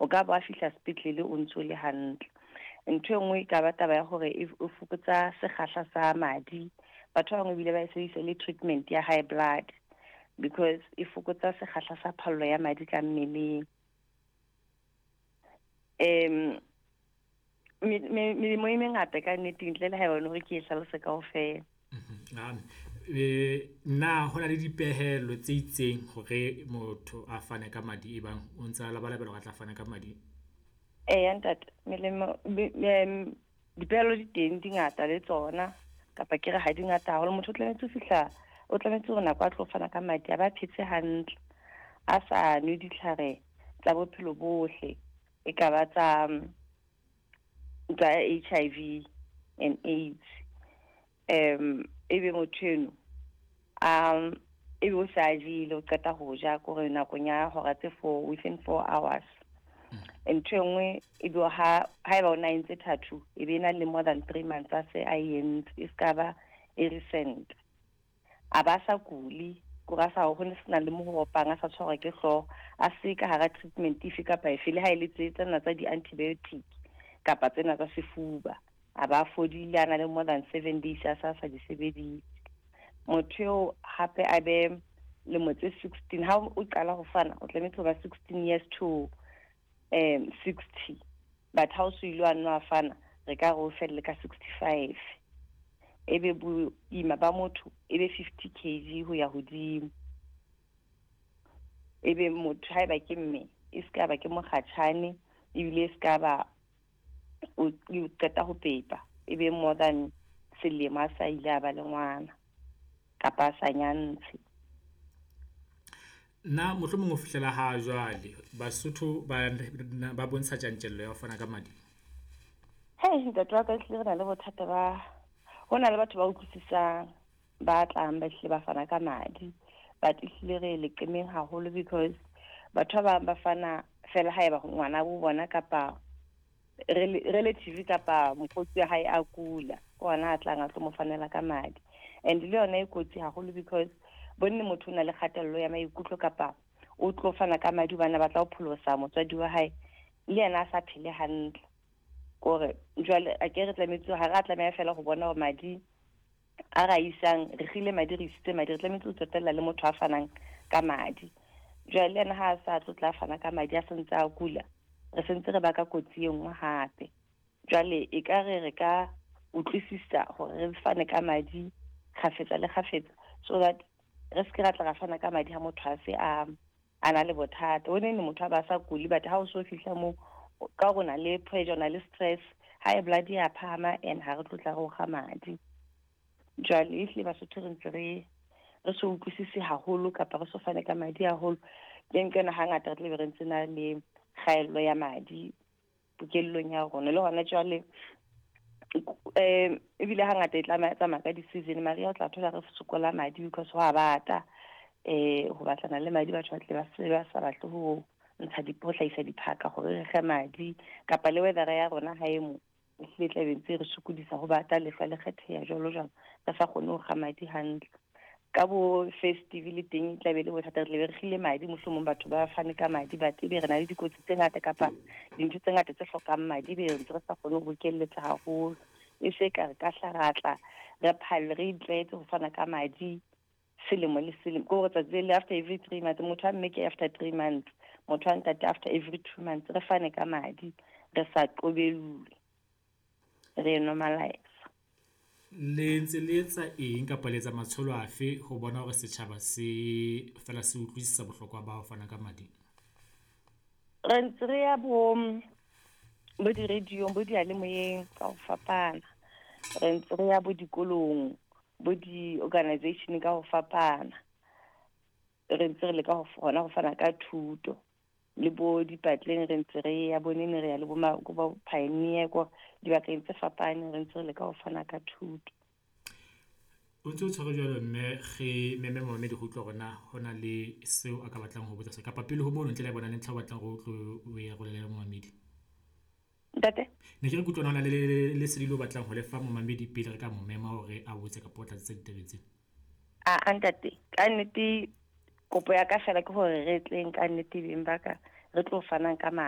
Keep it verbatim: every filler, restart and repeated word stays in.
O ka ba fihla sepetlele o ntso le hantle. Ntho e nngwe e ka ba taba ya hore e fokotsa sekgahla sa madi. Batho ba bangwe ebile ba e sebedisa le treatment ya high blood because e fokotsa sekgahla sa phallo ya madi ka mmeleng. Um melemo e mengata ka nnete ntle le haeba hore ke e hlalose kaofela. Na ho na le dipehelo tse itseng hore motho a fane ka madi e bang o ntsa labalabela hore a tla fana ka madi? Eya ntate, melemo dipehelo di teng di ngata le tsona kapa ke re ha di ngata haholo. Motho o tlametse ho fihla, o tlametse hore nako a tlo fana ka madi a ba phetse hantle, a sa nwe ditlhare tsa bophelo bohle. E ka ba tsa tsa H I V and AIDS. Um ebe motho eno um ebe o sa jele, o qeta ho ja kore nakong ya hora tse four, within four hours. Ntho e nngwe ebe ha haeba o na entse tattoo, e be na le more than three months a se a entse, e ska ba e recent. A ba sa kuli, kore a sa ho ne sena le mo ho opang, a sa tshwarwa ke hlooho, a se ka hara treatment efe kapa efe, le ha e le tse tsena tsa di-antibiotic kapa tsena tsa sefuba. A ba fodile, a na le more than seven days a sa sa di sebedise. Motho eo hape a be lemo tse sixteen, ha o qala ho fana o tlametse ho ba sixteen years to um sixty, but ha o so ile wa nwa fana re ka re o felle ka sixty-five. Ebe boima ba motho ebe fifty kilograms ho ya hodimo. Ebe motho haeba ke mme e ska ba ke mokgatjhane, ebile e ska ba o qeta ho pepa, ebe more than selemo a sa ile a ba le ngwana kapa a sa nyantshe. Na mohlomong ho fihlela ha jwale Basotho ba ba bontsha tjantjello ya ho fana ka madi? Hei ntate wa ka, ehlile re na le bothata ba, ho na le batho ba utlwisisang ba tlang ba hlile ba fana ka madi, but ehlile re leqemeng haholo because batho ba bang ba fana fela haeba ngwana bo bona kapa relative kapa mokgotsi wa hae a kula, ke ona a tlang a tlo mo fanela ka madi. And le yona e kotsi haholo because bonne motho o na le kgatello ya maikutlo kapa o tlo fana ka madi hobane a batla ho pholosa motswadi wa hae, le yena a sa phele hantle. Kore jwale a ke re tlametse, ha re a tlameha fela ho bona hore madi a ra isang, re kgile madi, re isitse madi, re tlametse ho tsotella le motho a fanang ka madi. Jwale le yena ha a sa tlo tla fana ka madi a santse a kula, re sentse re baka kotsi e nngwe hape. Jwale e ka re re ka utlwisisa hore re fane ka madi kgafetsa le kgafetsa, so that re se ke ra tla ra fana ka madi ha motho a se a a na le bothata. O ne ne motho a ba sa kuli, but ha o so fihla moo ka hore o na le pressure, o na le stress, high blood ya phahama, and ha re tlo tla re o kga madi. Jwale ehlile Basotho re ntse re re so utlwisise haholo kapa re so fane ka madi haholo. Ke nka yona hangata re tlabe re ntse na le kgaello ya madi pokellong ya rona. Le hona jwale um ebile hangata e tlamaya tsamaya ka di-season, mariha o tla thola re sokola madi because ho a bata, eh ho batlana le madi, batho ba tle ba se ba sa batle ho ntsha di, ho hlahisa diphaka hore re kge madi, kapa le weather ya rona ha e mo ehlile tla be ntse re sokodisa ho bata, lehlwa le kgetheha jwalo jwalo, re sa kgone ho kga madi hantle. Ka bo festive le teng tla be le bothata, re tlabe re kgile madi, mohlomong batho ba fane ka madi, but ebe re na le dikotsi tse ngata kapa dintho tse ngata tse hlokang madi, ebe re ntse re sa kgone ho bokelletsa haholo. E se ka re ka hla ra tla re phalle, re itlwaetse ho fana ka madi selemo le selemo, ke hore tsatsi le after every three months, motho a mme ke after three months, motho a ntate after every two months, re fane ka madi, re sa qobellwe, re normalize. Le ntse le etsa eng kapa le etsa matsholo afe ho bona hore setjhaba se fela se utlwisisa bohlokwa ba ho fana ka madi? Re ntse re ya bo bo di-radio-ong, bo diyalemoyeng ka ho fapana. Re ntse re ya bo dikolong, bo di-organization ka ho fapana. Re ntse re leka ho hona ho fana ka thuto. Le bo dipatleng re ntse re ya bo nene, re ya le bo ma, bo pioneer ko dibakeng tse fapaneng, re ntse re leka ho fana ka thuto. O ntse o tshware jwalo mme re meme momamedi ho utlwa hore na ho na le seo a ka batlang ho botsa se, kapa pele ho mono ntle le bona le ntlha o batlang hore o tlo o e arolele le momamedi. Ntate? Ne ke re ke utlwa hona le le lesedi le o batlang ho lefa momamedi pele re ka mo mema hore a botse kapa o tlatse ditabeng tsena. A, a ntate, ka nnete kopo ya ka fela ke hore re tleng ka nnete beng ba ka, re tlo fanang ka madi.